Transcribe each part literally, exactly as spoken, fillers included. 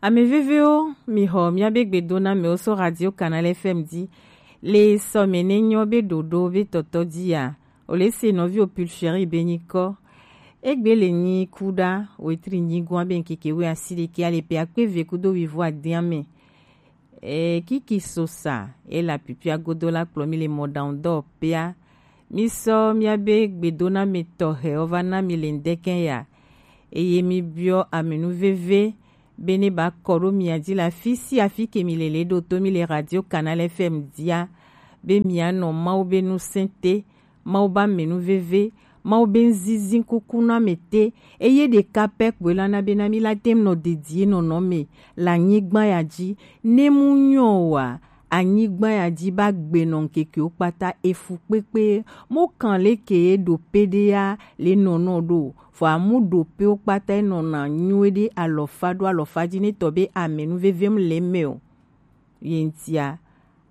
Amɛ vevewo, mi xɔ miabe gbedonamɛwo so Radio Canal F M ji. Le sɔmɛ ne nyɔ be ɖoɖo be tɔtɔ ji ya, o le se nɔvi o Pulchérie be nyikɔ. Egbe le nyi kuɖa wetri nyigoa be ŋkeke we asi ɖekɛ ale pe akpe ve kudo wivo adiamɛ. E kiki sosa e la pipia godo la kplɔ mi le mɔɖaŋudɔwɔƒea. Mi sɔ miabe gbedonamɛ tɔxɛwo va na mi le ŋdɛkɛ ya. Eye mi biɔ amɛnuveve be ne ba kɔ ɖo mia ji le afi sia afi ke mi le le ɖo to mi le Radio Canal F M jia, be mianɔ Mawu be nusẽ te, Mawu be amɛnuveve, Mawu be ŋzizi kuku na mɛ te, eye ɖeka pɛ kpoe la na be na mi la te nɔ dedie nɔnɔ mɛ le anyigba ya ji. Ne mu nyɔ wa, anyigba ya ji ba gbe nɔ ŋkekewo kpata efu kpekpe. Mo kan leke ye ɖo pe ɖe ya le nɔnɔ ɖo, fɔ amu ɖo pewo kpata enɔna nyuie ɖe alɔfa ɖo alɔfa ji ne tɔ be amɛnuveve mu le mɛ o. Ye ŋtia,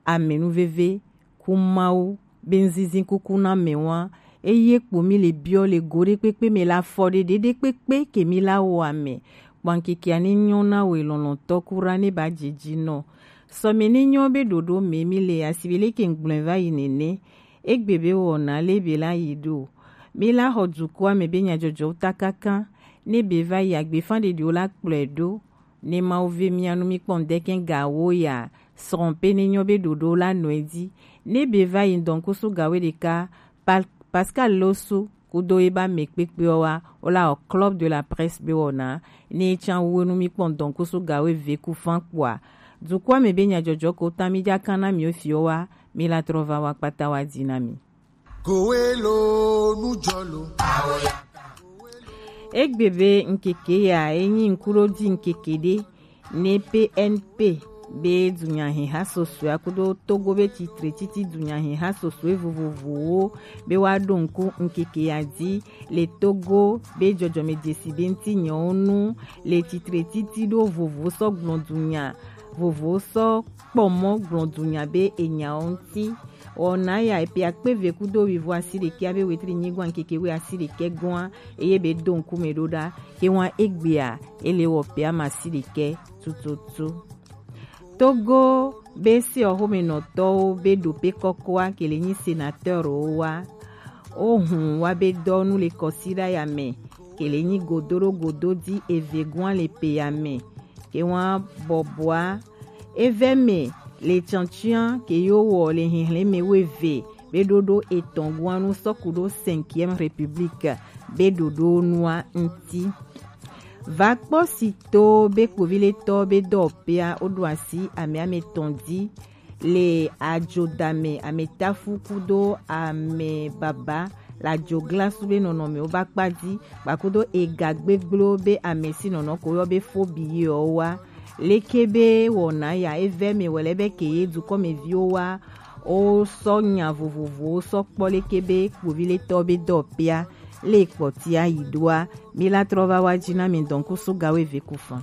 amɛnuveve ku Mawu be ŋzizi kuku na mɛ wa. Eye kpo mi le biɔ le go ɖe kpekpe mɛ la fɔ ɖe ɖe ɖe kpekpe ke mi la wɔ amɛ. Kpankeke ani nyɔ na we lɔlɔtɔ kura ne ba jeji nɔ. Sɔmɛ ne nyɔ be ɖoɖo mɛ mi le asibe leke ŋgblɔe va yi nene. Egbe be wɔna le be la yi ɖo. Mi la xɔ dukɔa mɛ be nyajɔjɔ ta kaka. Ne be va yi agbefa ɖeɖiwo la kplɔe ɖo. Ne Mawu ve mia nu mi kpɔ ŋdɛkɛ gawo ya, srɔ̃ pe ne nyɔ be ɖoɖo la nɔe ji. Ne be va yi ŋdɔnkusu gawo ɖeka, Pal-, Pascal Losu kudo ye ba mɛ kpekpeɔ wa, o la o Club de la Presse be wɔna, ne tsan wu nu mi kpɔ ŋdɔnkusu gawo ve ku fan kpɔa. Dukɔa mɛ be nyajɔjɔ ko ta mi ja kan na mi o fi o wa, mi la trɔ va wa kpata wa di na mi. Kowelo nujɔlo. Egbe be ŋkeke ya enyi ŋkuɖodzi ŋkeke ɖe ne P N P be dunyahiha sosoe akudo Togo be titre titi dunyahiha sosoe vovovowo be wa ɖo ŋku ŋkeke ya dzi le Togo be jɔjɔme dzesi be ŋti nyɔwo nu le titre titi ɖo vovo sɔ gblɔ dunya vovo sɔ kpɔ mɔ gblɔ dunya be enyawo ŋti. Wɔna ya epe akpe ve kudo wivo asi ɖekɛ abe wetri nyigɔa ŋkeke we asi ɖekɛ gɔa eye be do ŋkume ɖo ɖa. Ke wa egbea ele wɔ pe ama asi ɖekɛ tututu. Togo be se ɔxomenɔtɔwo be ɖo pe kɔkɔa ke le nyi sénateur wo wa. O hun wa be dɔ nu le kɔsi ɖa ya mɛ ke le nyi godo ɖo godo di eve gɔa le pe ya mɛ. Ke wa bɔbɔa Evɛ mɛ le tsantsian ke yo wɔ le hihlɛn mɛ weve be ɖoɖo etɔn guanu sɔku ɖo cinquième république be ɖoɖo nua ŋti. Va kpɔ si to be kpoviletɔ be dɔwɔƒea woɖo asi ame ame tɔn di le adzodame ametafu kudo amebaba le adzoglasu be nɔnɔmewo ba kpa di kpakudo ega gbegblẽwo be ame si nɔnɔ ko yɔ be fobi yewo wa. Leke be wɔna ya evɛ mɛ wɛlɛ be ke ye dukɔmeviwo wa wo sɔ nya vovovowo sɔ kpɔ leke be kpoviletɔ be dɔwɔƒea le kpɔtia yi ɖoa. Mi la trɔ va wa ji na mi dɔnkusu gawo eve ku fan.